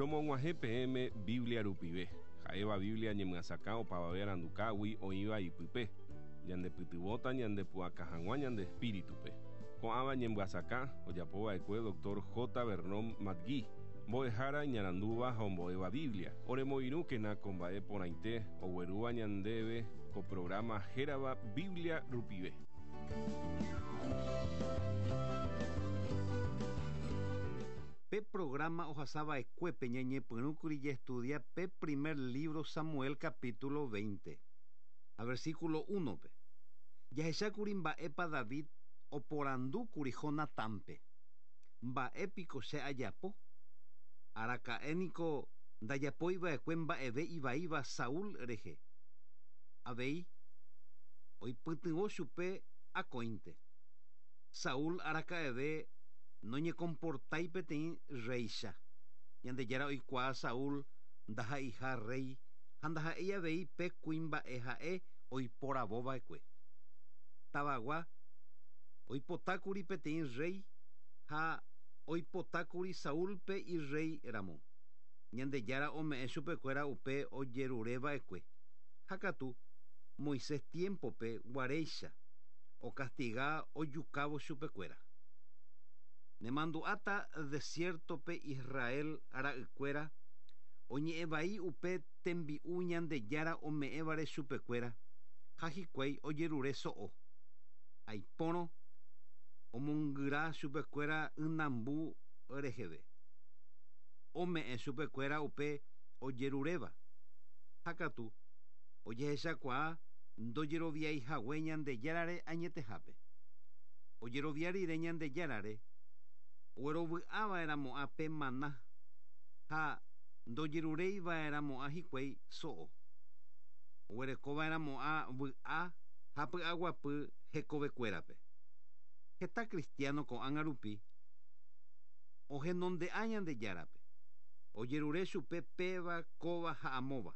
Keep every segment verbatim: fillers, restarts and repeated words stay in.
Romog̃uahẽ peẽme Biblia rupive, ha'éva Biblia ñemyasakã opavave arandukágui oĩva ipype, ñandepytyvõta ñandepu'aka hag̃ua ñande espíritupe. Ko'ãva ñemyasakã ojapova'ekue doctor J. Vernon McGee, mbo'ehára iñarandúva ha ombo'éva Biblia. Oremoirũkena ko mba'e porãite oguerúva ñandéve ko programa hérava Biblia rupive. Pe programa ohasava'ekuépe ñañepyrũkuri jaestudia pe primer libro Samuel capítulo veinte, a versículo uno-pe. Jahechákuri mba'épa David oporandúkuri Jonatánpe. Mba'épiko che ajapo? Araka'éniko ndajapoiva'ekue mba'eve ivaíva Saúl rehe. Avei oipytyvõ chupe akóinte. Saúl araka'eve noñekomportái peteĩ réicha. Ñandejára oikuaa Saúl ndaha'eiha rey ha ndaha'éi avei pe kuimba'e ha'e oiporavova'ekue. Tavagua oipotákuri peteĩ rey ha oipotákuri Saúlpe irrey ramo. Ñandejára ome'ẽ chupekuéra upe ojerureva'ekue. Ha katu Moisés tiempope guaréicha okastiga ojukávo chupekuéra. Nemandu'áta desiertope Israel ra'ykuéra oñe'ẽvai upe tembi'u Ñandejára ome'ẽvare chupekuéra ha hikuái ojerure so'o. Aipórõ omongyra chupekuéra ynambu reheve. Ome'ẽ chupekuéra upe ojeruréva. Ha katu ojehechakuaa ndojeroviaihague Ñandejárare añetehápe. Ojerovia rire Ñandejárare oguerovy'ava'erãmo'ã pe maná ha ndojerureiva'erãmo'ã hikuái so'o. Oguerekova'erãmo'ã vy'a ha py'aguapy hekovekuérape. Heta cristiano ko'ág̃a rupi ohenonde'a Ñandejárape. Ojerure chupe péva, kóva ha amóva.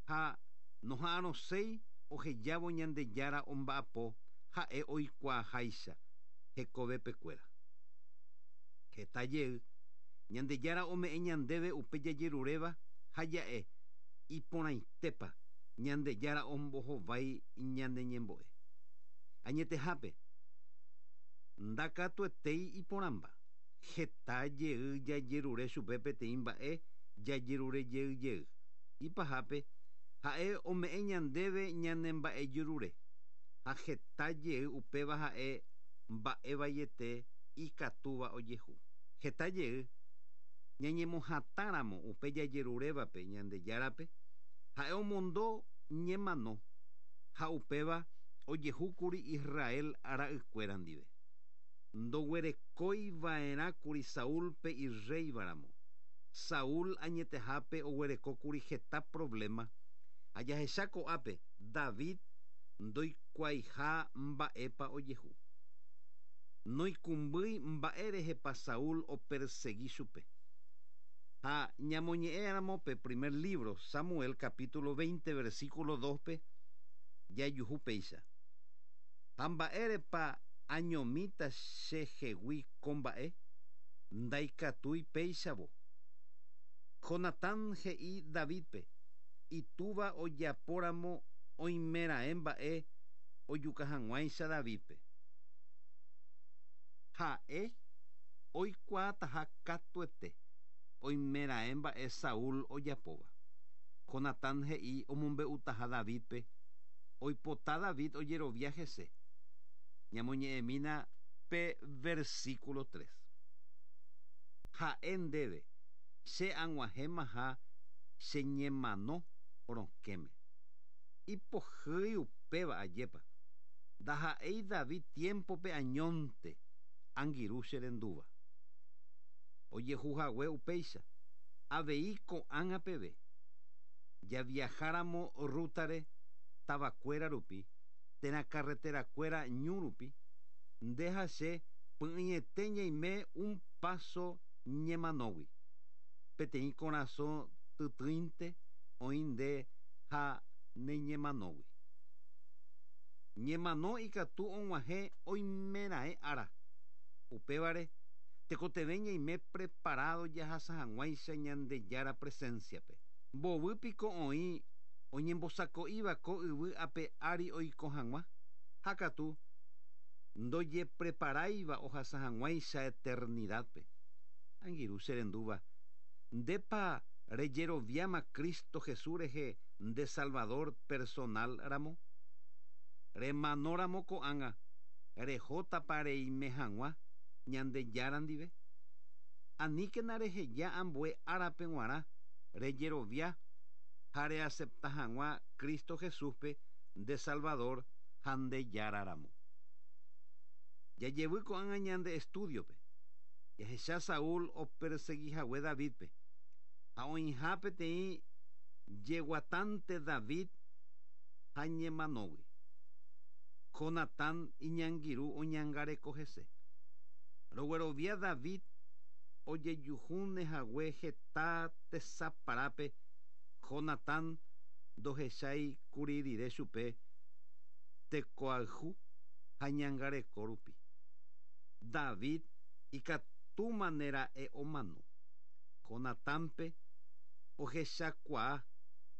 Ha noha'arõséi ohejávo Ñandejára omba'apo ha'e oikuaaháicha hekovepekuéra. Heta jey Ñandejára ome'ẽ ñandéve upe jajeruréva ha ja'e iporãitépa Ñandejára ombohovái ñane ñembo'e. Añetehápe ndakatuetéi iporãmba. Heta jey jajerure chupe peteĩ mba'e jajerure jey jey. Ipahápe ha'e ome'ẽ ñandéve ñane mba'ejerure ha heta jey upéva ha'e mba'evaiete ikatúva ojehu. Heta jey ñañemohatãramo upe jajerurévape Ñandejárape ha'e omondo ñemano ha upéva ojehúkuri Israel ra'ykuéra ndive. Ndoguerekoiva'erãkuri Saúlpe irréivaramo. Saúl añetehápe oguerekókuri heta problema ha jahecha ko'ápe David ndoikuaaiha mba'épa ojehu. Noikũmbýi mba'érehepa Saúl opersegui chupe. Ha ñamoñe'ẽramo pe primer libro Samuel capítulo veinte versículo dos-pe jajuhu péicha. Ha mba'érepa añomíta chehegui ko mba'e ndaikatúi péichavo. Jonatán he'i Davidpe itúva ojapóramo oimeraẽ mba'e ojuka hag̃uáicha Davidpe. Ha'e oikuaataha katuete oimeraẽ mba'e Saúl ojapóva. Jonatán he'i omombe'utaha Davidpe oipota David ojerovia hese. Ñamoñe'ẽmína pe versículo tres. Ha'e ndéve che ag̃uahẽmaha che ñemano rokẽme. Ipohýi upéva ajépa. Ndaha'éi David tiempope añónte angirũ che rendúva. Ojehuhague upéicha avei ko'ág̃a peve. Javiajáramo rútare tavakuéra rupi térã carreterakuéra ñu rupi nde ha che py'ỹiete ñaime un paso ñemanógui. Peteĩ korasõ tytýinte oĩ nde ha neñemanógui. Ñemano ikatu og̃uahẽ oimeraẽ ára. Upévare Tekotevẽ ñaime preparado jahasa hag̃uáicha Ñandejára presenciape. Mbovypiko oĩ oñembosako'íva ko yvy ape ári oiko hag̃ua, ha katu ndojepreparáiva ohasa hag̃uáicha eternidadpe. Angirũ cherendúva, ndépa rejeroviáma Cristo Jesús rehe nde Salvador personal ramo? Remanóramo ko'ág̃a rehótapa reime hag̃ua Ñandejára ndive? Aníkena reheja ambue árape g̃uarã rejerovia ha reacepta hag̃ua Cristo Jesúspe nde Salvador ha Ndejára ramo. Jajevy ko'ág̃a ñande estudiope. Jahecha Saúl operseguihague Davidpe. Ha oĩha peteĩ jeguatánte David ha ñemanógui. Jonatán iñangirũ oñangareko hese. Roguerovia David ojejuhúne hague heta tesaparápe Jonatán ndohechái kuri rire chupe tekoayhu ha ñangareko rupi. David ikatúmanera'e omano. Jonatánpe ohechakuaa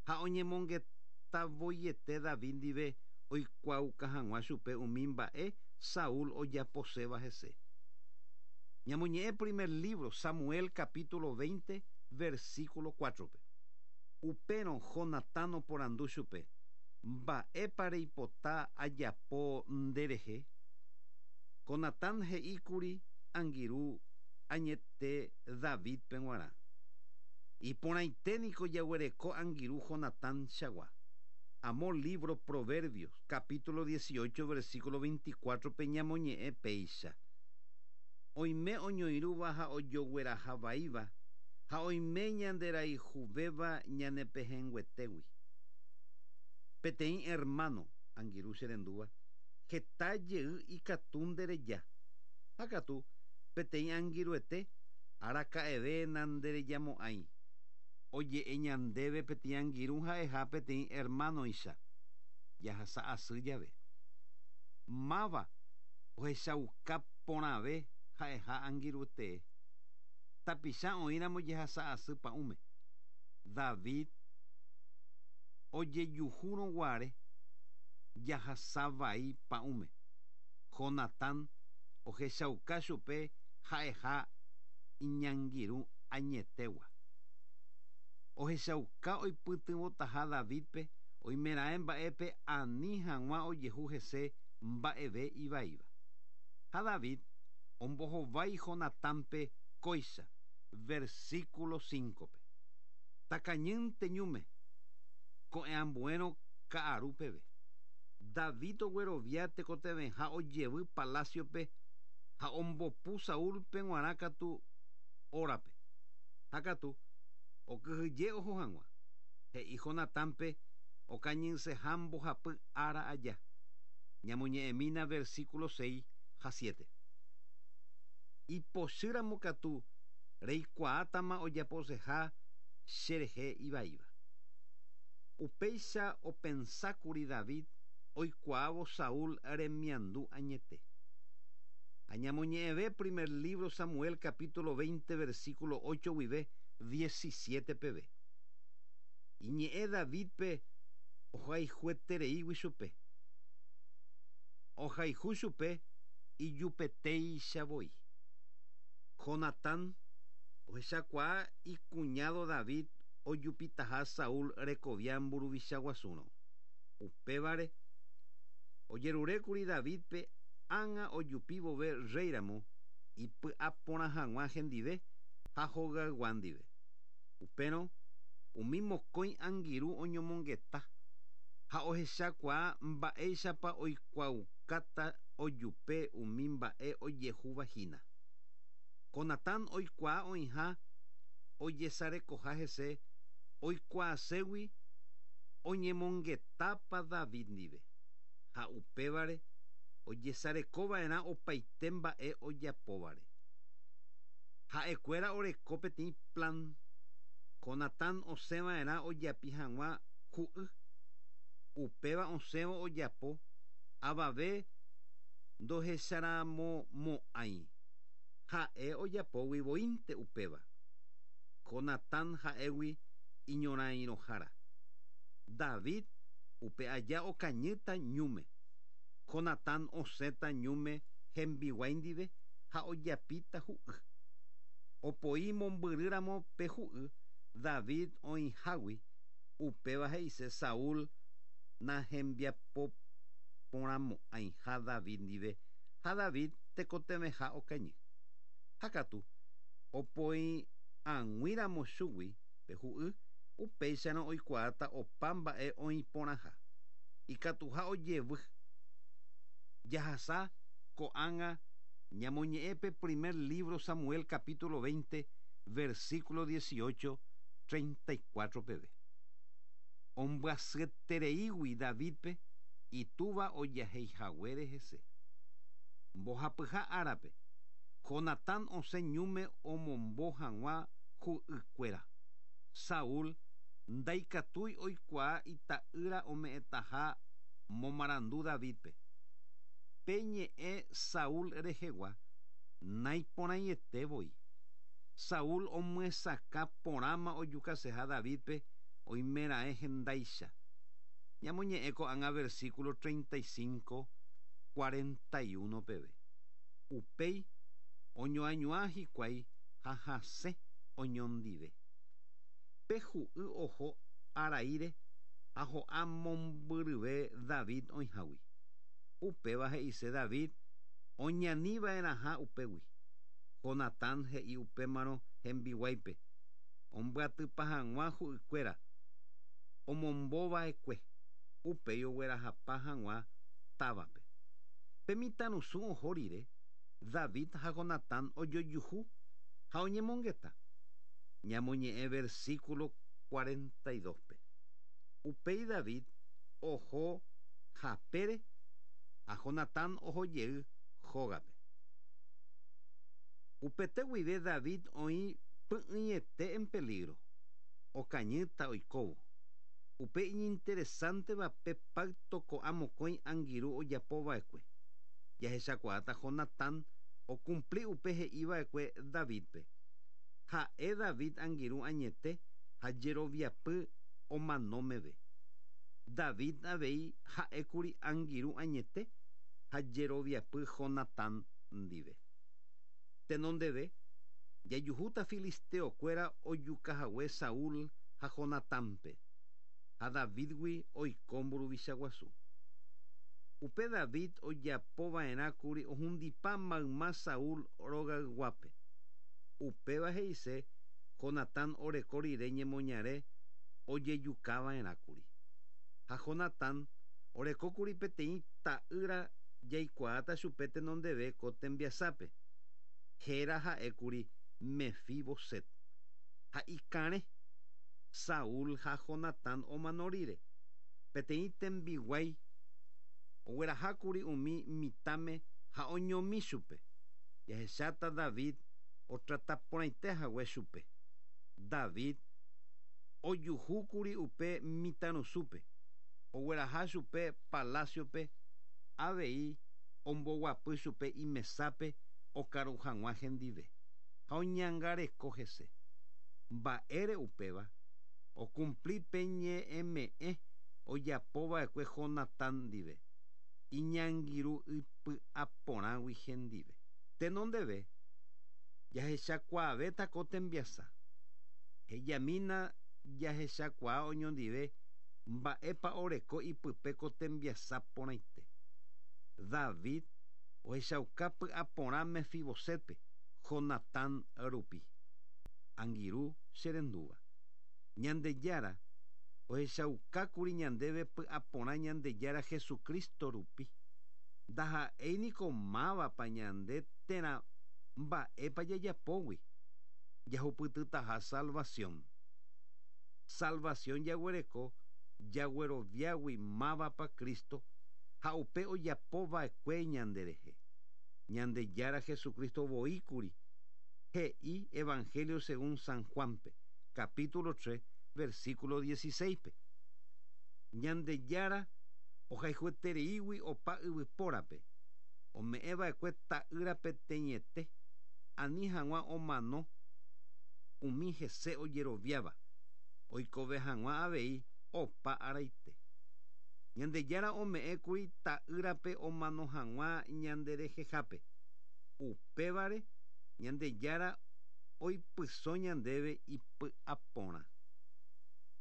ha oñemongetavoiete David ndive oikuaauka hag̃ua chupe umi mba'e Saúl ojaposéva hese. Ñamoñe'ẽ primer libro Samuel capítulo veinte versículo cuatro-pe. Upérõ Jonatán oporandu chupe: Mba'épa reipota ajapo nderehe? Jonatán he'íkuri angirũ añete Davidpe g̃uarã. Iporãiténiko jaguereko angirũ Jonatán chagua. Amo libro Proverbios, capítulo dieciocho, versículo veinticuatro-pe ñamoñe'ẽ péicha. Oime oñoirũva ha ojoguerahavaíva ha oime ñanderayhuvéva ñanepehẽnguetégui. Peteĩ hermano, angirũ cherendúva, heta jey ikatu ndereja. Ha katu peteĩ angirũete araka'eve nanderejamo'ãi. Oje'e ñandéve peteĩ angirũ ha'eha peteĩ hermanoicha jahasa asy jave. Máva ohechauka porãve ha'eha angirũtee. Tapicha oĩramo jehasa asy pa'ũme. David ojejuhúrõguare jahasa vai pa'ũme. Jonatán ohechauka chupe ha'eha iñangirũ añetegua. Ohechauka oipytyvõtaha Davidpe oimeraẽ mba'épe ani hag̃ua ojehu hese mba'eve ivaíva. Ha David ombohovái Jonatánpe kóicha, versículo cinco-pe. Takañýnte ñúme, ko'ẽambuérõ ka'aru peve. David oguerovia tekotevẽha ojevy palaciope ha ombopu Saúlpe g̃uarã katu órape. Ha katu okyhyje oho hag̃ua. He'i Jonatánpe okañyseha mbohapy ára aja. Ñamoñe'ẽmína versículo seis ha siete. Ipochýramo katu reikuaátama ojaposeha cherehe ivaíva. Upéicha opensákuri David oikuaávo Saúl remiandu añete. Ha ñamoñe'ẽve primer libro Samuel capítulo veinte versículo ocho guive diecisiete peve. Iñe'ẽ Davidpe ohayhuetereígui chupe. Ohayhu chupe ijupetéicha voi. Jonatán ohechakuaa icuñado David ojupitaha Saúl rekovia mburuvicha guasúrõ. Upévare ojerurékuri Davidpe ág̃a ojupi vove rréiramo ipy'aporã hag̃ua hendive ha hogaygua ndive. Upérõ umi mokõi angirũ oñomongeta ha ohechakuaa mba'éichapa oikuaukáta ojupe umi mba'e ojehuvahína. Jonatán oikuaa oĩha ojesarekoha hese oikuaaségui oñemongetápa David ndive. Ha upévare ojesarekova'erã opaite mba'e ojapóvare. Ha'ekuéra oreko peteĩ plan. Jonatán osẽva'erã ojapi hag̃ua hu'y. Upéva osẽvo ojapo avave ndohecharamomo'ãi. Ha'e ojapógui voínte upéva. Jonatán ha'égui iñorairõhára. David upe aja okañýta ñúme. Jonatán osẽta ñúme hembiguái ndive ha ojapíta hu'y. Opoi mombyrýramo pe hu'y David oĩhágui upéva he'ise Saúl nahembiapoporãmo'ãiha David ndive ha David tekotevẽha okañy. Ha katu opoi ag̃uíramo chugui pe hu'y upéicharõ oikuaáta opa mba'e oĩporãha. Ikatuha ojevy. Jahasa ko'ág̃a ñamoñe'ẽ pe primer libro Samuel capítulo veinte versículo dieciocho treinta y cuatro peve. Ombyasyetereígui Davidpe itúva ojaheihaguére hese. Mbohapyha árape Jonatán osẽ ñúme omombo hag̃ua hu'ykuéra. Saúl ndaikatúi oikuaa ita'ýra ome'ẽtaha momarandu Davidpe. Pe ñe'ẽ Saúl rehegua naiporãiete voi. Saúl omyesakã porãma ojukaseha Davidpe oimeraẽ hendáicha. Ñamoñe'ẽ ko'ág̃a versículo treinta y cinco cuarenta y uno peve. Upéi oñoañuã hikuái ha hasẽ oñondive. Pe hu'y oho araíre ha ho'a mombyryve David oĩhágui. Upéva he'ise David oñaniva'erãha upégui. Jonatán he'i upémarõ hembiguáipe ombyatypa hag̃ua hu'ykuéra omombova'ekue upéi oguerahapa hag̃ua távape. Pe mitãrusu oho rire David ha Jonatán ojojuhu ha oñemongeta. Ñamoñe'ẽ versículo cuarenta y dos pe. Upéi David oho hapére ha Jonatán ohojey hógape. Upete guive David oĩ py'ỹiete en peligro. Okañýta oikóvo. Upe iñinteresánteva pe pacto ko'ã mokõi angirũ ojapova'ekue. Jahechakuaáta Jonatán ocumpli upe he'iva'ekue Davidpe. Ha'e David angirũ añete ha jeroviapy omanómeve. David avei ha'ékuri angirũ añete ha jeroviapy Jonatán ndive. Tenondeve jajuhúta filisteokuéra ojukahague Saúl ha Jonatánpe ha Davidgui oiko mburuvicha guasu. Upe David ojapova'erãkuri ohundipa mayma Saúl rogayguápe. Upéva he'ise Jonatán oreko rire ñemoñare ojejukava'erãkuri. Ha Jonatán orekókuri peteĩ ta'ýra jaikuaáta chupe tenondeve ko tembiasápe. Héra ha'ékuri Mefiboset. Ha ikarẽ Saúl ha Jonatán omano rire. Peteĩ tembiguái oguerahákuri umi mitãme ha oñomi chupe. Jahecháta David otrataporãite hague chupe. David ojuhúkuri upe mitãrusúpe. Ogueraha chupe palaciope avei omboguapy chupe imesápe okaru hag̃ua hendive. Ha oñangareko hese. Mba'ére upéva ocumpli pe ñe'ẽme'ẽ ojapova'ekue Jonatán ndive. Iñangirũ ipy'aporãgui hendive. Tenondeve jahechakuaavéta ko tembiasa. Hejamína jahechakuaa oñondive mba'épa oreko ipype ko tembiasa porãite. David ohechauka py'aporã Mefibosetpe Jonatán rupi. Angirũ cherendúva. Ñandejára ohechaukákuri ñandéve py'aporã Ñandejára Jesucristo rupi. Ndaha'éiniko mávapa ñande térã mba'épa jajapógui. Jahupytytaha salvación. Salvación jaguereko jagueroviágui mávapa Cristo ha upe ojapova'ekue ñanderehe. Ñandejára Jesucristo voíkuri he'i Evangelio según San Juanpe, capítulo tres, versículo dieciséis pe. Ñandejára ohayhuetereígui opa yvypórape ome'ẽva'ekue ta'ýra peteĩete Ani hag̃ua omano umi hese ojeroviáva oikove hag̃ua avei opa araite. Ñandejára ome'ẽkuri ta'ýrape omano hag̃ua ñanderehehápe. Upévare Ñandejára oipyso ñandéve ipy'aporã.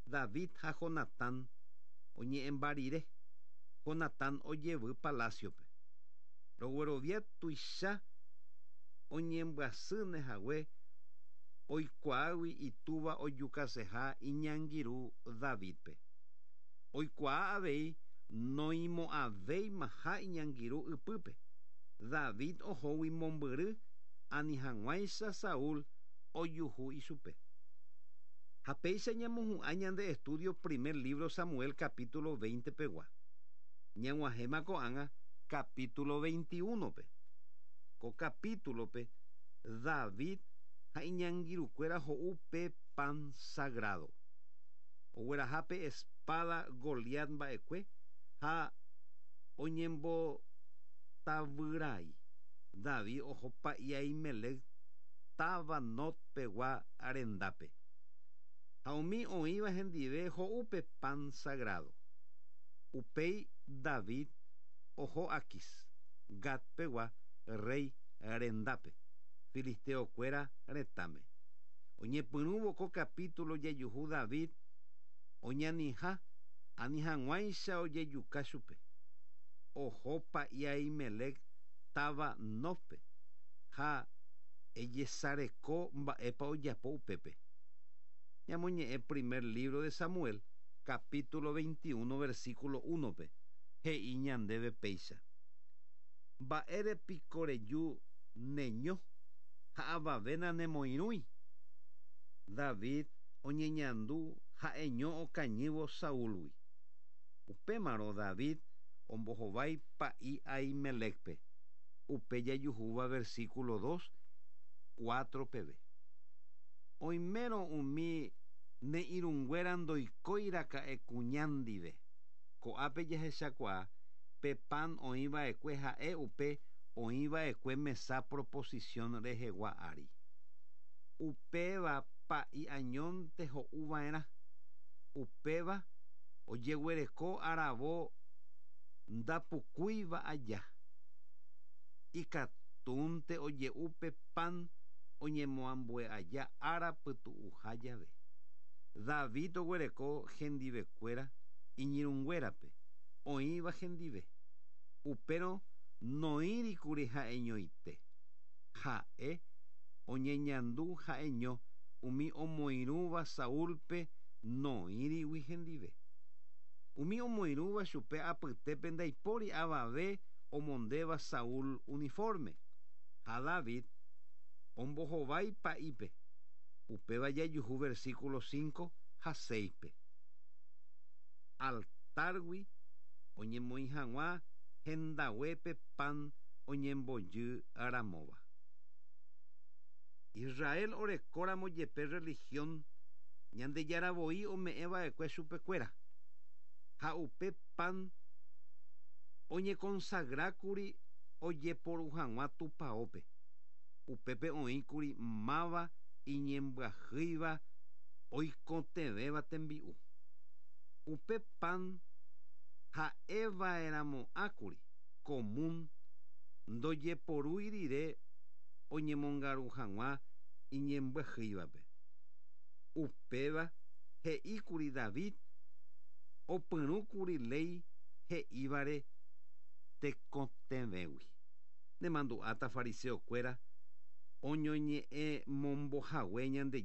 David ha Jonatán oñe'ẽmba rire. Jonatán ojevy palaciope. Roguerovia tuicha oñembyasýne hague oikuaágui itúva ojukaseha iñangirũ Davidpe. Oikuaa avei noĩmo'ãvéimaha iñangirũ ypýpe. David ohógui mombyry ani hag̃uáicha Saúl ojuhu ichupe. Ha péicha ñamohu'ã ñande estudio primer libro Samuel capítulo veinte pegua. Ñag̃uahẽma ko'ág̃a capítulo veintiuno-pe. Ko capítulo-pe David ha iñangirũkuéra ho'u pe pan sagrado. Ogueraha pe espada Goliat mba'ekue ha oñembotavyrai. David oho pa'i Ahimelec táva Nob pegua rendápe. Ha umi oĩva hendive ho'u pe pan sagrado. Upéi David oho Aquis, Gat pegua rey rendápe, filisteokuéra retãme. Oñepyrũvo ko capítulo jajuhu David oñaniha ani hag̃uáicha ojejuka chupe. Oho pa'i Ahimelec táva Nobpe ha ejesareko mba'épa ojapo upépe. Ñamoñe'ẽ primer libro de Samuel, capítulo veintiuno, versículo uno-pe, he'i ñandéve péicha. Mba'ére piko reju neño ha avave nanemoirũi. David oñeñandu ha'eño okañývo Saúlgui. Upémarõ David ombohovái pa'i Ahimelecpe. Upe jajuhúva versículo dos, cuatro peve. Oimérõ umi ne irũnguéra ndoikóiraka'e kuña ndive. Ko'ápe jahechakuaa pe pan oĩva'ekue ha'e upe oĩva'ekue mesa proposición rehegua ári. Upéva pa'i añónte ho'uva'erã. Upéva ojeguereko aravo ndapukúiva aja. Ikatúnte oje'u pe pan oñemoambue aja ára pytu'uha jave. David oguereko hendivekuéra iñirũnguérape oĩva hendive. Upérõ noĩrikuri ha'eñoite. Ha'e oñeñandu ha'eño umi omoirũva Saúlpe noĩrigui hendive. Umi omoirũva chupe apytépe ndaipóri avave omondéva Saúl uniforme. Ha David ombohovái pa'ípe. Upéva jajuhu versículo cinco ha seis-pe. Altárgui oñemoĩ hag̃ua hendaguépe pan oñembojy ramóva. Israel orekóramo jepe religión Ñandejára voi ome'ẽva'ekue chupekuéra. Ha upe pan oñekonsagrákuri ojeporu hag̃ua tupãópe. Upépe oĩkuri máva iñembyahýiva oikotevẽva tembi'u. Upe pan ha'eva'erãmo'ãkuri común ndojeporúi rire oñemongaru hag̃ua iñembyahýivape. Upéva he'íkuri David opyrũkuri léi he'ívare tekotevẽgui. Nemandu'áta fariseokuéra oñoñe'ẽmombohague ñande